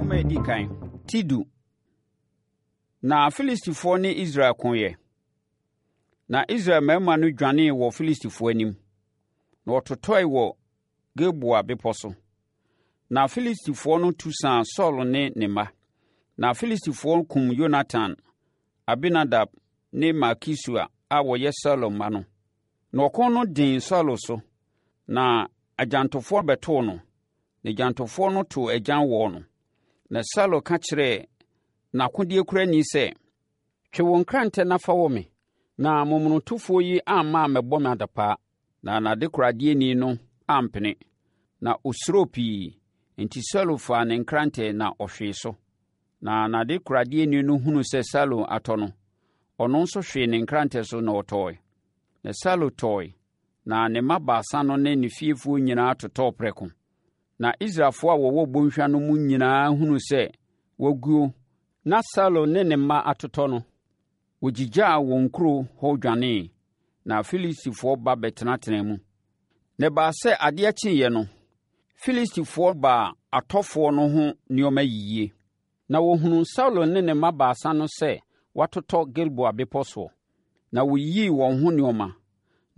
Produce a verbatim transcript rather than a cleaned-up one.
Nwoma a ɛdi kan, ti du. Na Filistifoɔ ne Israel koeɛ. Na Israel mmarima no dwanee wɔ Filistifoɔ anim, na wɔtotɔe wɔ Gilboa bepɔ so. Na Filistifoɔ no tu saa Saulo ne ne mma. Na Filistifoɔ kum Yonatan, Abinadab ne Malkisua a wɔyɛ Saulo mma no. Na ɔko no den Saulo so, na agyantofoɔ bɛtoo no, na agyantofoɔ no too agyan wɔɔ no. Na Saulo ka kyerɛɛ n'akodeɛkurani sɛ, “Twe wo nkrantɛ na fa wɔ me, na momonotofoɔ yi amma ammɛbɔ me adapaa.” Na n'adekoradeɛni no ampene, na ɔsuroo pii. Enti Saulo faa ne nkrantɛ na ɔhwee so. Na n'adekoradeɛni no hunuu sɛ Saulo atɔ no, ɔno nso hwee ne nkrantɛ so na ɔtɔeɛ. Na Saulo tɔeɛ, na ne mma baasa no ne ne fiefoɔ nyinaa totɔɔ prɛko. Na Israelfoɔ a wɔwɔ bɔnhwa no mu nyinaa hunuu sɛ wɔaguo na Saulo ne ne mma atotɔ no, wɔgyigyaa wɔn nkuro hɔ dwanee, na Filistifoɔ ba bɛtenatenaa mu. Na ɛbaa sɛ adeɛ kyeeɛ no, Filistifoɔ baa atɔfoɔ no ho nneɛma yiyie. Na wɔhunuu Saulo ne ne mma baasa no sɛ wɔatotɔ Gilboa bepɔ soɔ. Na wɔyiyii wɔn ho nneɛma,